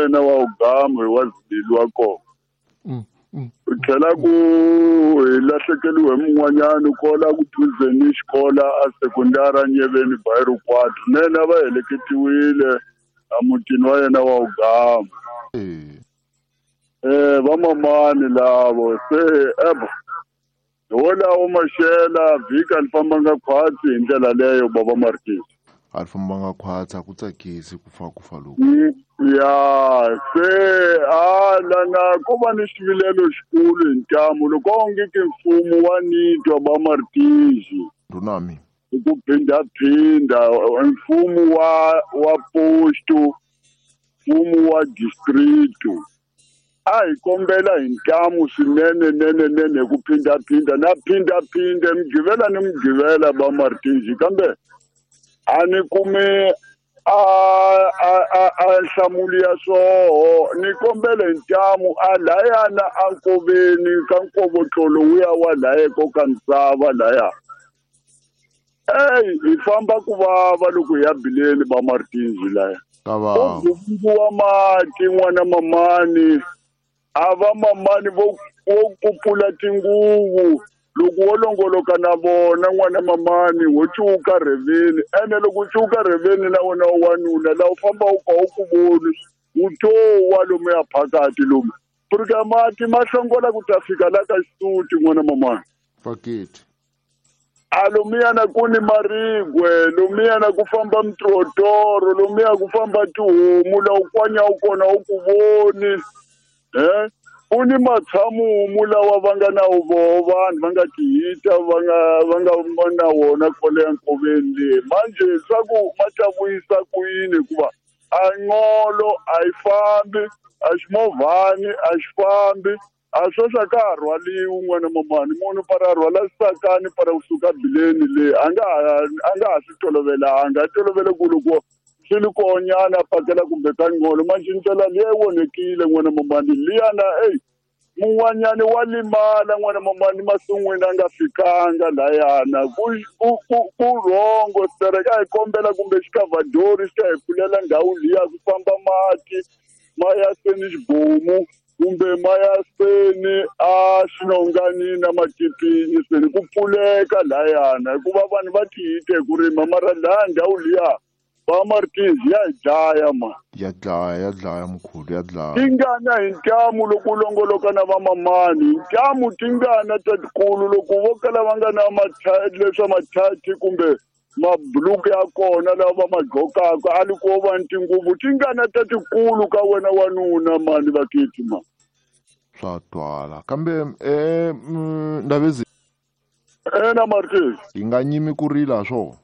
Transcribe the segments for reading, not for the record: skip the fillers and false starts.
yena wa ugamu hi wa zibili wa kona. Ku tlhela ku hi lahlekeliwe hi mun'wanyani kola ku duzeni xikola a sekondara Nyeveni Bairro Quatro nene a va heleketiwile a mutini wa yena wa ugamu. Vamamani lavo se eba hi wolawo maxela vhiki a ni fambanga khwatsi hi ndlela leyo baba Martins. A ri fambanga khwatsi a ku tsakisi ku fa ku fa loku. Ya se a lana ko va ni xivilelo xikulu hi ntamu loko onge ke mfumo wa nitwa ba Martins. Ndunami. Hi ku phindaphinda mfumo wa posto, mfumo wa district. A hi kombela hi ntamu swinene nene nene hi ku phindaphinda na phindaphinda mugqivela ni mugqivela ba Martins kambe a ni kumi a nhlamulo ya swoho ni kombela hi ntamu a layana a nkoveni ka nkovotlolo wuya wa laya ko ka misava laya. Ey hi famba ku vava loko hi ya bileni ba Martins laya. Ka vava. U gumbiwa mati n'wana mamani a va mamani vo kupula tinguvu loko wo longoloka na vona n'wana mamani wo cuka rheveni ene loko u cuka rheveni na wena wa wanuna laha u famba u ka u ku voni wu to wa lomuya phakati lomu purika mati ma hlongola ku ta fika la ka xisuti n'wana mamani. Paketi. A lomuyana ku ni marigwe lomuyana ku famba mitrotoro lomuya ku famba tihomu la u kwanya u kona u ku voni. U ni matshamumu lawa va nga na voho vanhu va nga tihita va nga na wona kwale nkoveni leyi manje swa ku ma ta vuyisa ku yini hikuva a ngolo a yi fambi a ximovhani a xi fambi a sweswi a ka ha rhwaliwi n'wana mamani munhu para rhwala xisakani para kusuka bileni leyi a nga ha swi tolovelanga a tolovele ku loko swi li konyana a pakela kumbe ka ngolo manje ndlela liya yi onhekile n'wana mamani liyana eyi mun'wanyani wa limala n'wana mamani masin'wini a nga fikanga layana ku rhongo stereka hi kombela kumbe xikavhadori xi ta hi pfulela ndhawu liya ku famba mati ma ya seni xibomu kumbe ma ya seni a xinonganini na matipini seni ku pfuleka layana hikuva vanhu va tihite hi ku rima mara laya ndhawu liya ba Martins ya dlaya ma. Ya dlaya mkhulu ya dlaya. Tingana hi ntamu loko u longoloka na vamamani ntamu tingana tatikulu loko vo kala va nga na leswa mathati kumbe mabuluku ya kona lawa va ma gqokaka a li ko va ni tinguvu tingana tatikulu ka wena wanuna mani vakiti ma. Swa twala kambe Ndabezi. Ena Martins. Hi nga nyimi ku rila swo.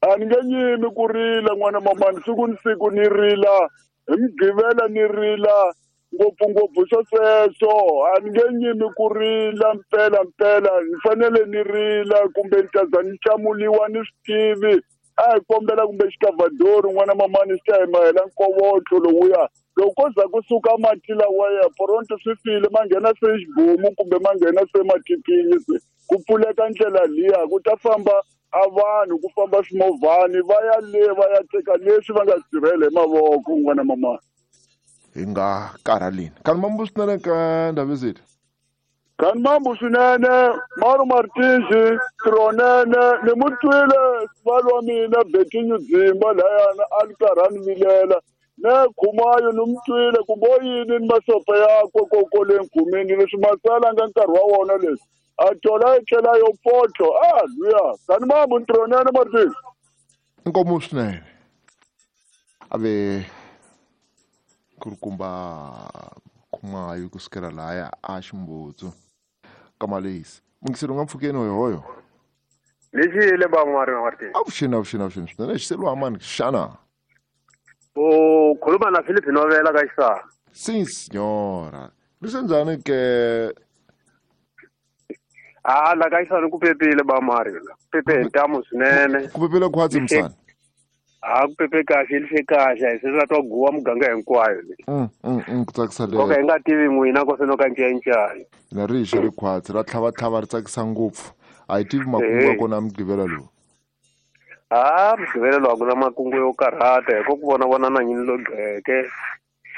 A ni nge nyimi ku rila n'wana mamani siku ni siku ni rila hi mugqivela ni rila ngopfungopfu swo sweswo a ni nge nyimi ku rila mpela mpela ni fanele ni rila kumbe ni ta za ni hlamuriwa ni swi tivi a hi kombela kumbe xikavhadori n'wana mamani xi ta hi mahela nkovotlo lowuya loko ko za kusuka mati lawaya poronto swi file ma nghena se xibomu kumbe ma nghena se matipini se ku pfuleka ndlela liya ku ta famba a vanhu ku famba swimovhani va ya le va ya teka leswi va nga swi tirhela hi mavoko n'wana mamani. Hi nga karhalini. Kani mambu swinene ka Ndabezitha. Kani mambu swinene Maru Martins Tronene ni mu twile sivalo wa mina Betinyu Dzimba layana a ni karhi a ni vilela ne Khumayo ni mu twile kumbe o yini ni masope yakwe kokole nkhumini leswi masala nga nkarhi wa wona leswi a tola yi tlhela yo potlo a luya kani mambu Tronene Martins. Inkomu swinene ave kurukumba Khumayo kusukela laya a Ximbutsu ka Malesi mungiselo nga mpfhukeni hoyohoyo lexi le ba Martin. Avuxeni swinene xiselo amani xana u khuluma na Philip Novela ka xisana. Si signora leswi njhani ke a la ka xisana ku pepile ba Mario pepe hi ntamu swinene ku pepile khwatsi msana a ku pepe kahle lihle kahle hi se la twa guwa muganga hinkwayo le. Ku tsakisa le. Nkoka hi nga tivi n'wina ko se no ka ncancani. Na ri xa ri khwatsi ra tlhava ri tsakisa ngopfu a hi tivi makungu ya kona mugqivela lowu. A mugqivela lowu a ku na makungu yo karhata hi ko ku vona na nyini lo gqeke.